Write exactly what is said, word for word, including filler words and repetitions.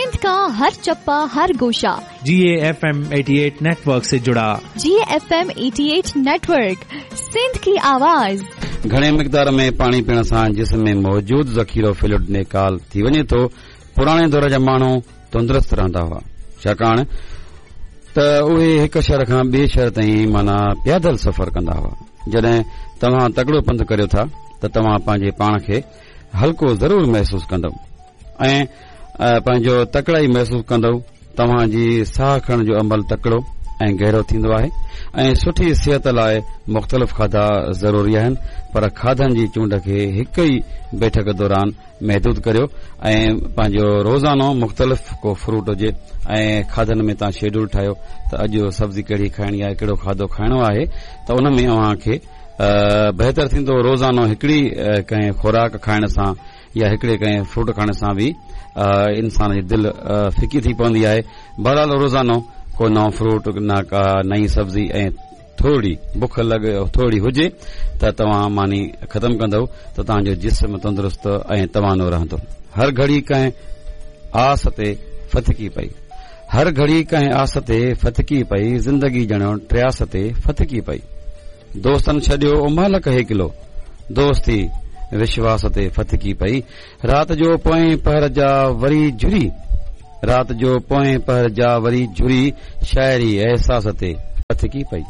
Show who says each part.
Speaker 1: सिंध का हर चप्पा हर गोशा
Speaker 2: G A F M eighty eight network से जुड़ा।
Speaker 1: G F M eighty eight network, Sindh की आवाज।
Speaker 3: घणे मिक़दार में पाणी पीअण सां जिस्म में मौजूद ज़ख़ीरो फ्लूइड निकाल थी वञे थो। पुराणे दौर जा माण्हू तंदुरुस्त रहंदा हुआ, छाकाणि त उहे हिकु शहर खां ॿिए शहर ताईं माना प्यादल सफ़र कंदा हुआ। जॾहिं तव्हां तगड़ो पंधु करियो था त तव्हां पंहिंजे पाण खे हल्को ज़रूरु महसूसु कंदव ऐं पंहिंजो तकड़ाई महसूसु कंदव। तव्हांजी साह खणण जो अमल तकड़ो ऐं गहिरो थींदो आहे ऐं सुठी सिहत लाइ मुख़्तलिफ़ खाधा ज़रूरी आहिनि, पर खाधनि जी चूंड खे हिकु ई बैठक दौरान महदूद करियो ऐं पंहिंजो रोज़ानो मुख़्तलिफ़ को फ्रूट हुजे ऐं खाधनि में तव्हां शेड्यूल ठाहियो त अॼु सब्ज़ी कहिड़ी खाइणी आहे, कहिड़ो खाधो खाइणो आहे, त उन में अव्हां खे बहितर थींदो। रोज़ानो हिकिड़ी कंहिं ख़ुराक खाइण सां या हिकिड़े कंहिं फ्रूट खाइण सां बि इंसान जी दिलि फिकी थी पवंदी आहे। बहरहाल रोज़ानो को नओं फ्रूट न का नई सब्ज़ी ऐं थोरी बुख लॻे थोरी हुजे त तव्हां मानी ख़तमु कंदव त तव्हांजो जिस्म तंदुरुस्त ऐं तवानो रहंदो। हर घड़ी कंहिं आस ते फथकी पई, हर घड़ी कंहिं आस ते फथकी पई, ज़िंदगी ॼणो ट्रियास ते फथकी पई। दोस्तनि छॾियो उमालक हेकिलो, दोस्ती विश्वास ते फथकी पई। रात जो पोएं पहर जा वरी झुरी, रात जो पोएं पहर जा वरी झुरी, शायरी एहसास ते फथकी पई।